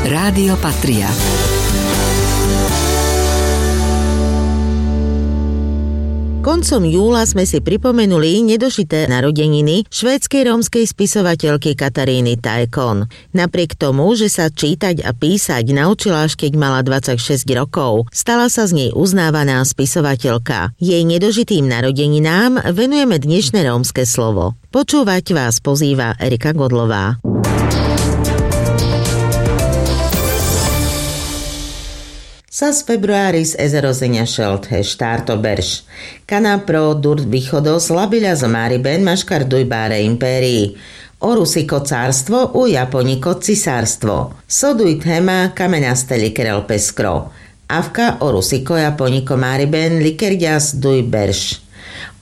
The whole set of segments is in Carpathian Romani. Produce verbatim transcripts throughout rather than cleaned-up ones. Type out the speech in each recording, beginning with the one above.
Rádio Patria. Koncom júla sme si pripomenuli nedožité narodeniny švédskej rómskej spisovateľky Kataríny Tajkon. Napriek tomu, že sa čítať a písať naučila, až kedy mala dvadsaťšesť rokov, stala sa z nej uznávaná spisovateľka. Jej nedožitým narodeninám venujeme dnešné rómske slovo. Počúvať vás pozýva Erika Godlová. Sas februáris ezero zeňašel the štárto berš. Kana pro durt bichodos labiľas o Máriben maškar duj báre impérii. O Rusiko cárstvo, u Japoniko cisárstvo. So duj thema kamenaste likerel pes kro. Avka o Rusiko Japoniko Máriben likerďas duj berš.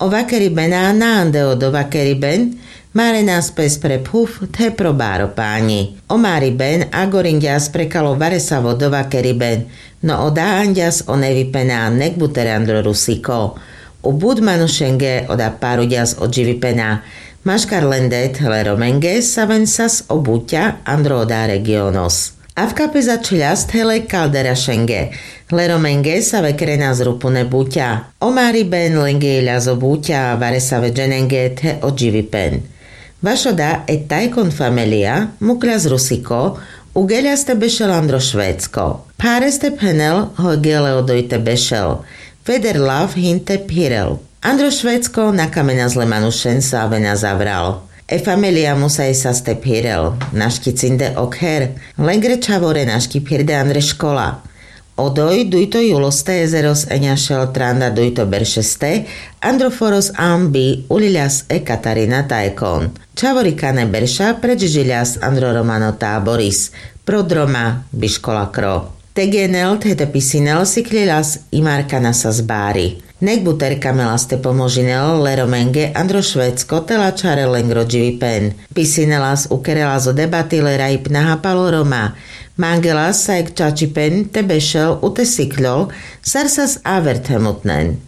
O Vakeribena na ande o do Vakeriben, marenas pes pre phuf the pro báro páňi. O Máriben agorinďas prekalo varesavo do Vakeriben, no oda aňďas o nevipena nekbuter andro Rusiko. U but manušenge oda páruďas o dživipena. Maškar len det le Romenge saven sas o buťa andro oda regionos. Avka pes ačheľas the le Kalderašenge, le Romenge save krenas rupune buťa. O Máriben lenge iľas o buťa varesave dženenge the o dživipen. Vaš oda e Tajkon famelia mukľas Rusiko, ugeľas te bešel andro Švédsko. Phareste phenel, hoj gele odoj te bešel. Feder lav hin te phirel. Andro Švédsko na kamenas le manušen so avena zavral. E famelia musaj sas te phirel. Naški cinde ok her. Lengre čhavore naški phirde andre škola. Odoj dujto júloste ezeros eňašel tranda dujto beršeste, andro foros ambi uľiľas e Katarína Tajkon. Čhavori kane berša predžižiľas andro Romano Táboris. Pro droma biškola kro. Te genel the te pisinel sikľiľas i markana sas bári. Nekbuter kamelas te pomožinel le Romenge andro Švédsko te lačharel lengro dživipen. Pisinelas ukerelas o debati le Rajpnaha palo Roma. Mangelas sajek čačipen te bešel u te sikľol sar sas aver themutnen.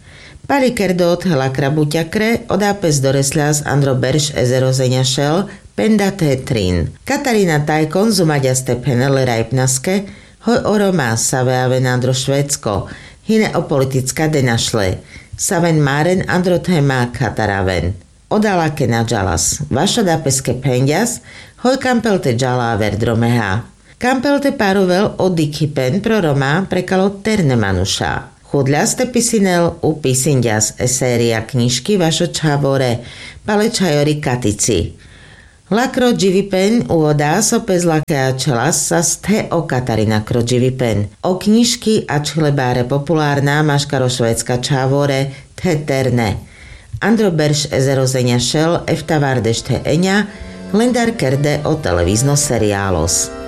Pali kerdo the lakra buťa kre, oda pes doresľas andro berš ezero zeňašel penda the trin. Katarína Tajkon zumaďas te phenel le Rajpnaske, hoj o Roma save aven andro Švédsko, hine o politická denašle. Saven máren andro thema khatar aven. Oda lake na džalas. Vaš oda peske phenďas, hoj kampel te džala aver dromeha. Kampel te parovel o dikhipen pro Roma prekalo terne manuša. Chudľas te pisinel u Pisinďas e séria knižky Vašo čhavore, pale čhajori katici. Lakro dživipen u oda so pes lake ačhelas sas the o Katarína kro dživipen. O knižky ačhile báre populárna maškar o Švédska čhavore the terne. Andro berš ezero zeňašel eftavárdeš the eňa lendar kerde o televízno seriálos.